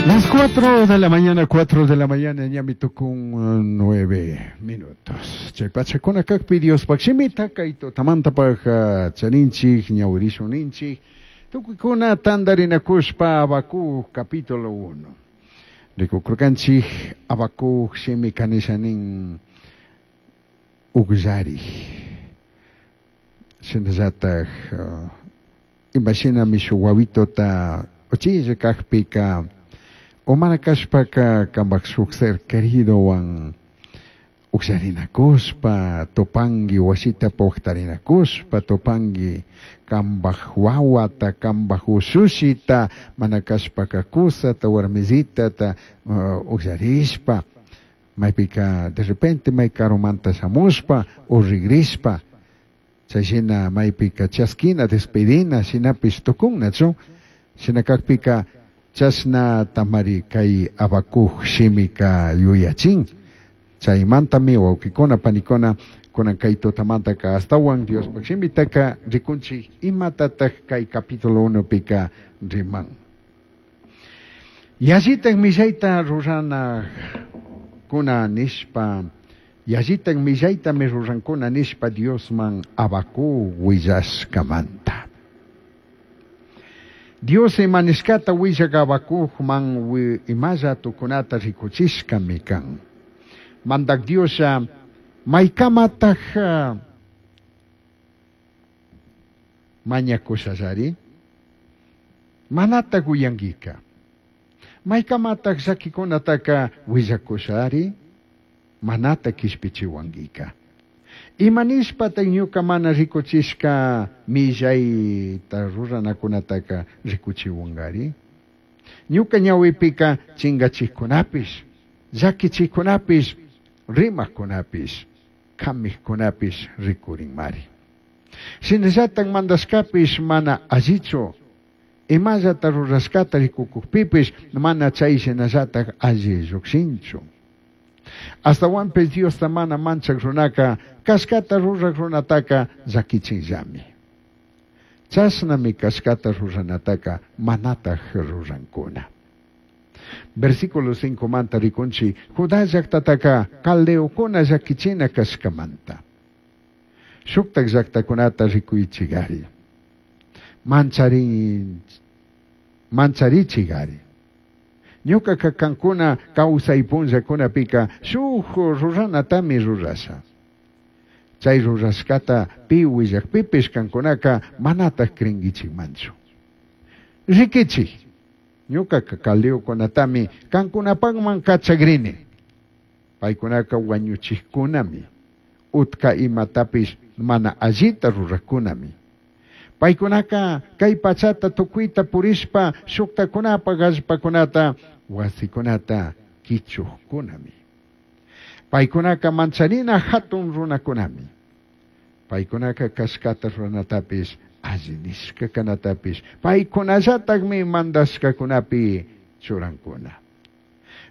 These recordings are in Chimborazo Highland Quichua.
Las 4 de la mañana, 4 de la mañana, ñami tukun 9 minutos. Chay pachakuna kakpi Diospaj shimita kay tutamantapaj charinchik, ñawirishun ninchik. Tukuykuna tantarinakushpa Habacuc capítulo 1. Rikukurkanchik Habacuc shimi kanisha nin ukllarik. Shinallataj imashinami shuk wawitota uchilla kakpika o mana kashpaka kambaj shuk ser queridowan ukllarinakushpa tupanki wasita puktarinakushpa tupanki kambaj wawata kambaj ushushita mana kashpaka kusata warmisitata ukllarishpa maypika de repente may karumanta shamushpa o rigrishpa chayshina maypika chaskina despedina shinapish tukunnachu shina kakpika chashna tamari kay Habacuc shimika yuyachin chaymantami wawqikuna panikuna kunan kay tutamantaka astawan Diospaj shimitaka rikunchik imatataj kay capítulo 1 pika riman. Yallitaj millayta rurana kuna nishpa yallitaj millaytami rurankuna nishpa Diosman Habacuc willashkamanta. Dios ima nishkata willak Habacucman imalla tukunata rikuchishkami kan. Mandak Dioslla maykamataj mañakushallari manataj uyankika. Maykamataj llakikunataka willakushari manata kishpichiwankika. Ima nishpataj ñuka mana rikuchishka millayta ruranakunataka rikuchiwankari? Ñuka ñawipika chingachikkunapish, llakichikkunapish, rimakkunapish, kamikkunapish rikurinmari. Shinallatak mandashkapish mana allichu, imallata rurashkata rikukukpipish mana chay shinallatak alli llukshinchu. Astawanpish Diosta mana manchak runaka kashkata rurak runataka llakichinllami. Chashnami kashkata ruranataka manataj rurankuna. Versículo 5 manta rikunchi Judá llaktataka caldeokuna llakichina kashkamanta. Shuktak llaktakunata rikuychigari. Mancharichigari. Ñukaka kankuna kawsay punllakunapika shuk ruranatami rurasha. Chay rurashkata pi willakpipish kankunaka manataj crinkichikmanchu. Rikichik, ñukaka caldeokunatami kankunapakman kachakrini. Paykunaka wañuchikkunami, utka imatapish mana allita rurakkunami. Paykunaka kay pachata tukuyta purishpa shuktakunapaj allpakunata wasikunata kichukkunami. Paykunaka mancharina hatun runakunami. Paykunaka kashkata ruranatapish alli nishka kanatapish paykunallatakmi mandashkakunapi churankuna.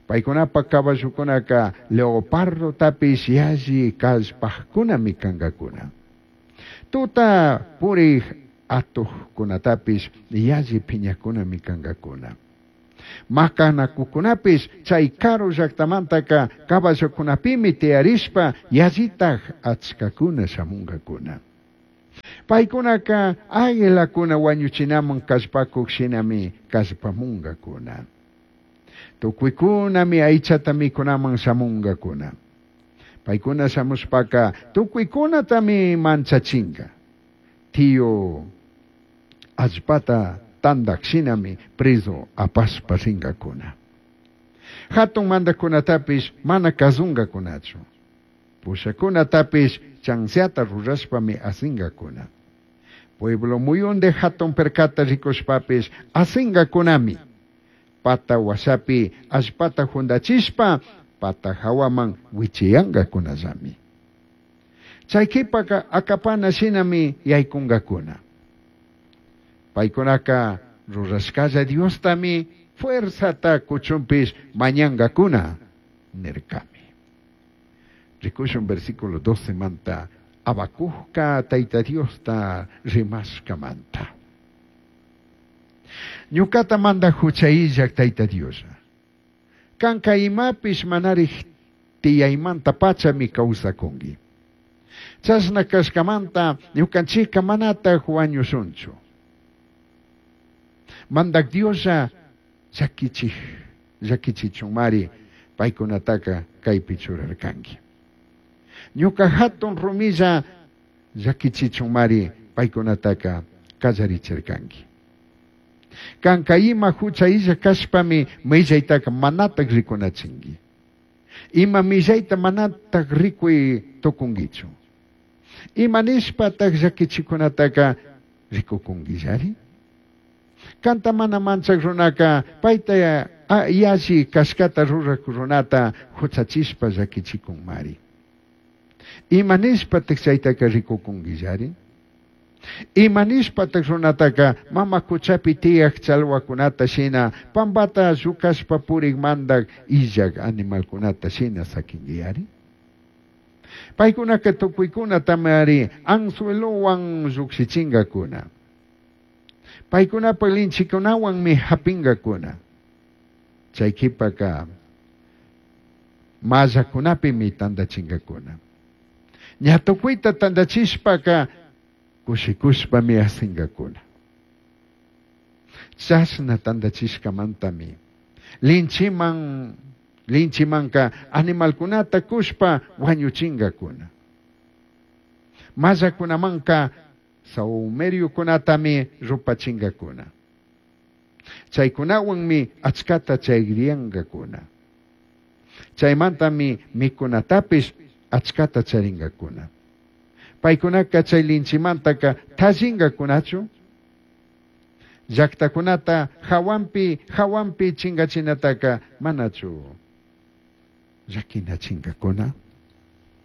Paykunapa caballokunaka leopardotapish yalli kallpajkunami kankakuna. Tuta purik atuqkunatapish yalli phiñakunami kankakuna. Makanakukunapish chay karu llaktamantaka caballokunapimi tiyarishpa yallitaj achkakuna shamunkakuna. Paykunaka águilakuna wañuchinaman kallpakuk shinami kallpamunkakuna. Tukuykunami aychata mikunaman shamunkakuna. Paykuna shamushpaka tukuykunatami manchachinka. Tiyu allpata tandak shinami preso apashpa rinkakuna. Hatun mandakunatapish mana kazunkakunachu. Pushakunatapish chanseata rurashpami asinqakuna. Pueblo muyunde hatun perkata rikushpapish asinqakunami. Pata washapi allpata jundachishpa pata hawaman wichiyanqakunallami. Chay qhipaka akapana shinami yaykunkakuna. Paykunaka rurashkalla Diostami fuerzata kuchunpish mañankakuna nirkami. Rikushun versículo 12 manta Habacucka Tayta Diosta rimashkamanta. Ñukata manda hucha illak Tayta Dioslla. Kanka imapish manarij tiyaymantapachami kawsakunki. Chashna kashkamanta ñukanchikka manataj wañushunchu. Mandak Dioslla llakichij llakichichunmari paykunataka kaypi churarkanki. Ñuka hatun rumilla llakichichunmari paykunataka kallarichirkanki. Kanka ima hucha illa kashpami millaytaka manataj rikunachinki. Ima millayta manataj rikuy tukunkichu. Ima nishpataj llakichikunataka rikukunkillari? Kanta mana manchak runaka payta yalli kashkata rurak runata huchachishpa llakichikunmari. Ima nishpataj chaytaka rikukunkillari? Ima nishpataj runataka mama kuchapi tiyaj chalwakunata shina pampata llukashpa purik mandak illak animalkunata shina sakinkiyari? Paykunaka tukuykunatamari anzuelowan llukshichinkakuna. Paykunapa linchikunawanmi hapinkakuna. Chay kipaka mallakunapimi tantachinkakuna. Ña tukuyta tantachishpaka kushikushpami asinkakuna. Chashna tantachishkamantami linchiman linchimanka animalkunata kushpa wañuchinkakuna. Mallakunamanka sahumeriokunatami rupachinkakuna. Chaykunawanmi achkata chayriyankakuna. Chaymantami mikunatapish achkata charinkakuna. Paykunaka chay linchimantaka tallinkakunachu? Llaktakunata hawanpi hawanpi chinkachinataka manachu llakinachinkakuna?